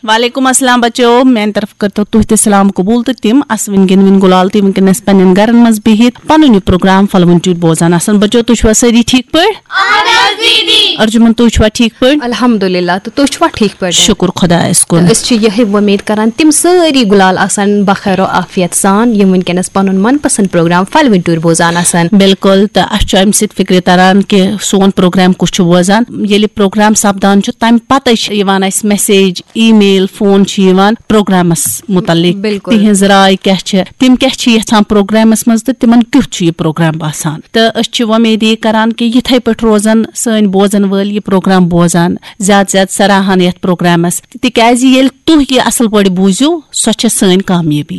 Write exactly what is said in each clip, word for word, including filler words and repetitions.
وعلیکم السلام بچو، میانہِ طرفہٕ کٔرتو تُہۍ تہِ سلام قبول تہٕ تِم اسوٕنۍ گِنوٕنۍ گُلال تہِ وٕنکیٚنس پننٮ۪ن گرن منٛز بِہِتھ پنُن یہِ پروگرام پھلوٕنۍ ٹیوٗرۍ بوزان آسان۔ بچو، تُہۍ چھِوا سٲری ٹھیٖک پٲٹھۍ؟ ارجُمن، تُہۍ چھِوا ٹھیٖک پٲٹھۍ؟ الحمدللہ، تہٕ تُہۍ چھِوا ٹھیٖک پٲٹھۍ؟ شُکُر خۄدایس کُن۔ تہٕ أسۍ چھِ یِہے وۄمید کران تِم سٲری گُلال آسن بخیر و عافیت سان، یِم وٕنکیٚنس پنُن من پسند پروگرام پھلوٕنۍ ٹیوٗرۍ بوزان آسن۔ بِلکُل، تہٕ اسہِ چھُ امہِ سۭتۍ فکرِ تران کہِ سون پروگرام کُس چھُ بوزان۔ ییٚلہِ پروگرام سپدان چھُ، تمہِ پتے چھِ یِوان اسہِ میسیج، ای میل، فون چھِ یِوان پروگرامس متعلق، بِلکُل۔ تِہنٛز راے کیاہ چھِ، تِم کیاہ چھِ یژھان پروگرامس منٛز تہٕ تِمن کیُتھ چھُ یہِ پروگرام باسان۔ تہٕ أسۍ چھِ وۄمید یہِ کران کہِ یِتھے پٲٹھۍ روزن سٲنۍ بوزن وٲلۍ یہِ پروگرام بوزان، زیادٕ زیادٕ سراہان یتھ پروگرامس، تِکیازِ ییٚلہِ تُہۍ یہِ اصل پٲٹھۍ بوٗزِو، سۄ چھےٚ سٲنۍ کامیٲبی۔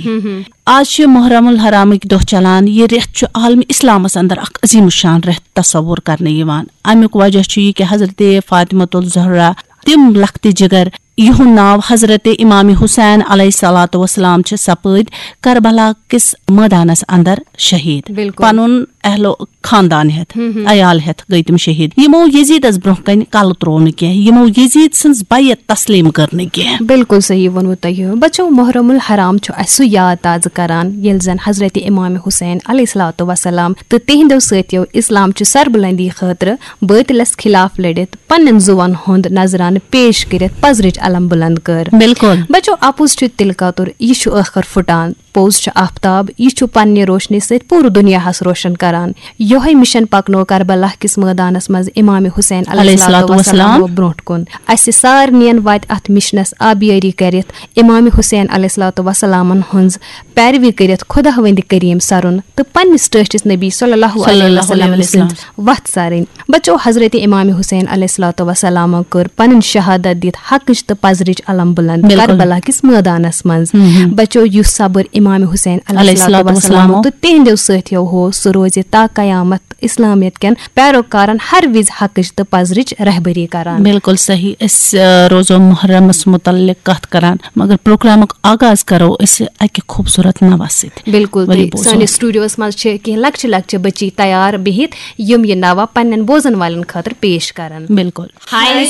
آز چھِ محرم الحرامٕکۍ دۄہ چلان۔ یہِ رٮ۪تھ چھُ عالمِ اسلامس اندر اکھ عظیم الشان رٮ۪تھ تصور کرنہٕ یِوان۔ امیُک وجہ چھُ یہِ کہِ حضرت فاطمۃ الزہرا، تِم لۄکٹہِ جگر، یِہُنٛد ناو حضرت امام حسین علیہ الصلوۃ والسلام چھِ سپٲدۍ کربلا کِس مٲدانس اندر شہید۔ بِلکُل۔ پنُن اہل و خاندان ہٮ۪تھ، عیال ہٮ۪تھ گٔے تِم شہید۔ یِمو یزیدس برونٛہہ کنہِ کلہٕ تروو نہٕ کینٛہہ، یِمو یزید سٕنٛز بیعت تسلیم کٔر نہٕ کینٛہہ۔ بِلکُل صحیح ووٚنوٕ تۄہہِ۔ بچو، محرم الحرام چھُ اسہِ سُہ یاد تازٕ کران، ییٚلہِ زن حضرت امام حسین علیہ الصلوۃ والسلام تہٕ تِہنٛدیو سٲتھیو اسلام چہِ سربلندی خٲطرٕ بٲطلس خلاف لٔڑِتھ پننٮ۪ن زُوَن ہُنٛد نذرانہٕ پیش کٔرِتھ پزرٕچ علم بلند کٔر۔ بِلکُل۔ بچو، اپُز چھُ تِلہٕ کتُر، یہِ چھُ ٲخر پھُٹان۔ پوٚز چھُ آفتاب، یہِ چھُ پننہِ روشنی سۭتۍ پوٗرٕ دُنیاہس روشن کران۔ یِہوٚے مِشن پکنوو کربلا کِس مٲدانس منٛز امام حسین علیہ علیہ الصلوۃ الصلوۃ والسلام۔ والسلام برونٛٹھ کُن۔ اسہِ سارنِین وتہِ اتھ مِشنس آبیٲری کٔرِتھ امام حسین علیہ الصلوۃ والسلامن ہٕنٛز پیروی کٔرِتھ خداوندِ کریم سرُن تہٕ پننِس ٹٲٹھِس نبی صلی اللہ صلی علیہ اللہ علیہ وسلم وسلم۔ سٕنٛز وتھ سارٕنۍ۔ بچو، حضرت امام حسین علیہ الصلوۃ والسلام کٔر پنٕنۍ شہادت دِتھ حقٕچ تہٕ پزرٕچ علم بلند بِلکُل۔ کربلا کِس مٲدانس منٛز۔ ہم۔ بچو، یُس صبر امام حسین علیہ علیہ الصلوۃ الصلوۃ والسلام والسلام۔ تہٕ تِہنٛدیو سٲتھیو ہو، سُہ روزِ تا قیامت اسلامیت کٮ۪ن پیروکارن ہر وِزِ حقٕچ تہٕ پزرٕچ رہبری کران۔ بِلکُل صحیح۔ أسۍ، آ، روزو محرمس متعلق کتھ کران، مگر پروگرامُک آغاز کرو أسۍ اکہِ خوٗبصوٗرت نوس سۭتۍ۔ بِلکُل، ؤلِو تہٕ بوزو۔ سٲنِس سٹوڈیوس منٛز چھِ کینٛہہ لۄکچہِ لۄکچہِ بچی تیار بِہِتھ، یِم یہِ نوہ پننٮ۪ن بوزن والٮ۪ن خٲطرٕ پیش کرن۔ بِلکُل۔ ہاے